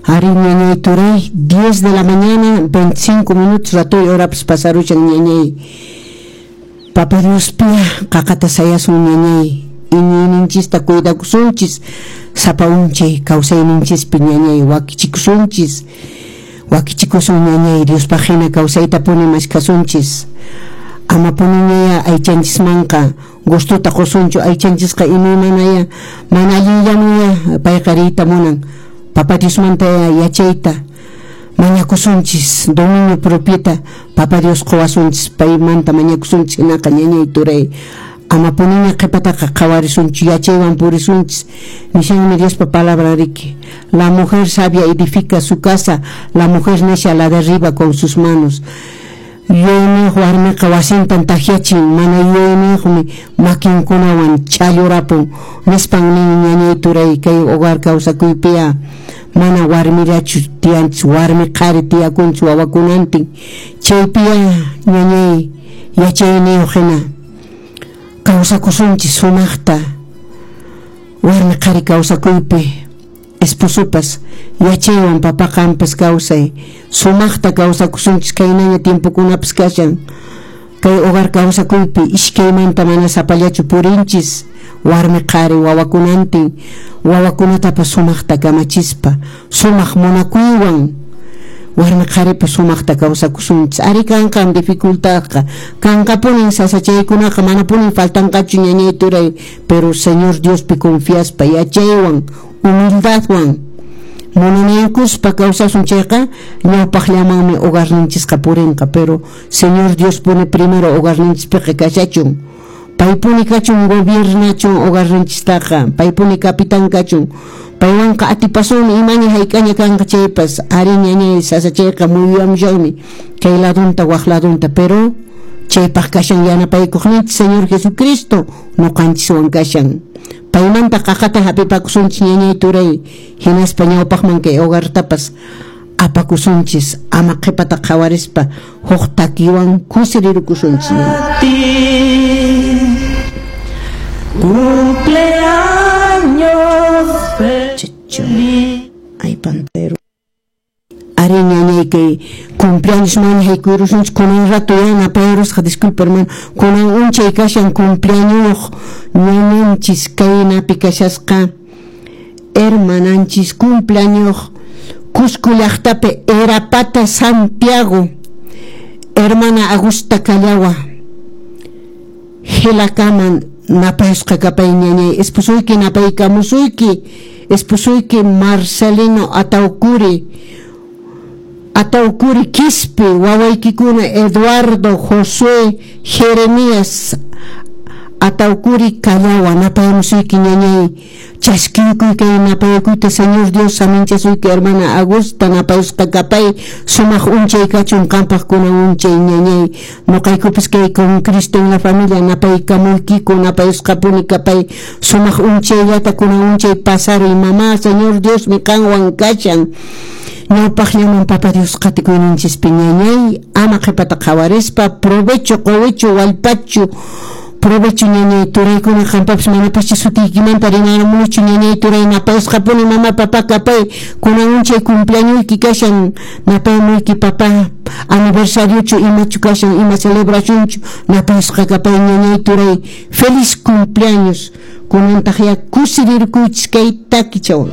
Ari ñañay turay, 10 de la mañana, 25 minutos, ratoy horapas pasarushan ñañay. Papa Diospiya qaqata sayasun ñañay. Iñiyninchista cuidakusunchis, sapa unchay kawsayninchispi ñañay wakichikusunchis. Wakichikusun ñañay Diospaq hina kawsaytapuni mashkasunchis. Ama puniñaya aychanchismanqa gustota qusunchu, aychanchisqa imaymanaya mana allinllamuya payqa riyta munan. Papa Diosmanta yachayta mañakusunchis, dominio propiota Papa Dios quwasunchis, paymanta mañakusunchis hinaqa ñañay turay. Ama puniña qhipataqa qhawarisunchu, yachaywan purisunchis. Nishanmi Diospa palabra riki. La mujer sabia edifica su casa, la mujer necia la derriba con sus manos. Yuyayniyuq warmiqa wasintan takyachin, mana yuyayniyuqmi makinkunawan challurapun. Nispan nin ñañay turay, kay hogar kawsakuypiya mana warmillachu tiyanchis, warmi qhari tiyakunchis wawakunantin. Chaypiya ñañay yachayniyuq hina kawsakusunchis sumaqta warmi qhari kawsakuypi. Esposopas yachaywan papa qampas kawsay sumaqta kawsakusunchis, kaynaña tiempokunapas kashan. Kay hogar kawsakuypi iskaymanta mana sapallachu purinchis, warmi qhari wawakunantin, wawakunatapas sumaqta kamachispa sumaq munakuywan warmi qharipa sumaqta kawsakusunchis. Ari kanqan dificultadqa, kanqapunin sasachaykunaqa, manapunin faltanqachu ñañay turay, pero Señor Diospi confiaspa yachaywan humildadwan munanaykuspa kawsasun chayqa ñawpaqllamanmi hogarninchisqa purinqa. Pero Señor Dios pone primero hogarninchispiqa kashachun, paypuni kachun gobiernachun hogarninchistaqa, paypuni capitán kachun, paywanqa atipasunmi imaña hayk'aña kanqa chaypas. Ari ñañay sasachayqa muyuyamushanmi kay ladunta waq ladunta, pero chaypaq kashan yanapaykuqninchis Señor Jesucristo ñuqanchiswan kashan. Paymanta qaqata hapipakusunchis ñañay turay, hinaspa ñawpaqman kay hogartapas apakusunchis, ama qhipata qhawarispa huk takiwan kusirirukusunchis. Cumpleaños feliz. Ay, pantero. Ari ñañay kay cumpleaños maña haykuyrusunchis kunan rato ya napayarusqa, disculpa hermano, kunan unchay kashan cumpleaños ñañanchis kaynapi kashasqa hermananchis cumpleaños Cusco llaqtapi Erapata Santiago, hermana Augusta Callawa Gelakaman napayusqa kapay ñañay, esposuyki napaykamusuyki, esposuyki Marcelino Ataucuri, Ataucuri Quispe, wawaykikuna Eduardo, Josué, Jeremías Ataucuri Callawa napayamusuyki ñañay, chaskiykuy kay napayakuyta Señor Dios saminchasuyki hermana Augusta napayusqa kapay, sumaq unchay kachun qampaq kunan unchay ñañay, ñuqaykupis kay con Cristo en la familia napaykamuykiku napayusqapuni kapay, sumaq unchayllata kunan unchay pasaruy mamá, Señor Dios mi qanwan kashan. Ñawpaqllaman Papa Dios qatikuyninchispi ñañay, ama qhipata qhawarispa provecho qowichu wallpachu provecho ñañay turaykuna qampapis manapascha sutiykimanta rimaramunichu ñañay turay, napayusqapuni mama papa kapay, kunan unchay cumpleañoyki kashan napayamuyki papa aniversariochu imachu kashan ima celebracionchu napayusqa kapay ñañay turay, feliz cumpleaños kunantaq ya kusirirkuychis kay takichawan.